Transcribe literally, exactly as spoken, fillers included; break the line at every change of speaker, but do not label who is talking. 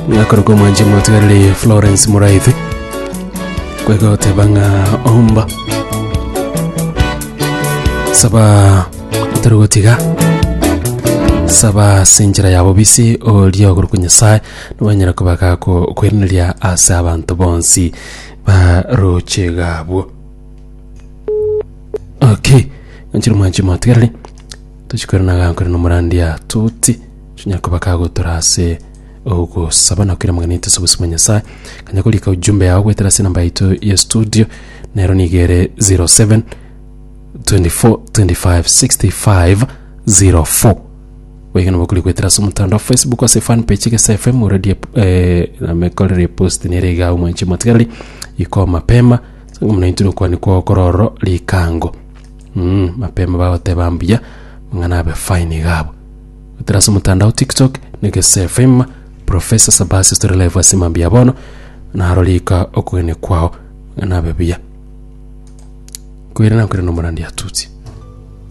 Ng'akorokwa omwanchi omotigareri Florence Muraithi kwegoteba ng'a omba saba otari gotiga saba ase enchera ya bobisi oria okorokwa Nyasaye nobanyara koba gakokweraneria ase abanto bonsi baroche iga abwo. Okay, nchire omwanchi omotigareri tochikwerana iga nkore na omorandia Tuti tonyare koba kagotora ase ogosaba na koira amang'ana aito ase obosio bwa Nyasaye. Kanya korika ujumbe yao goetera ase enamba yaito ya studio nero nigo ere zero seven twenty four twenty five sixty five zero four. Boigo nabo okori goetera ase omotandao Facebook ase fan page Egesa F M already eh, namekorire epost nere iga omwanchi omotigareri iko mapema ase ng'a buna intwe nokwania kwao kore ororo rikango mm, mapema bagoteba mbuya amang'ana abe fine iga abwo. Goetera ase omotandao TikTok na Egesa F M Professor Sabasia Story Live ase mambia bono naro rika okogenia kwao amang'ana abe buya. Koirana nkoirana omorandi atutsi.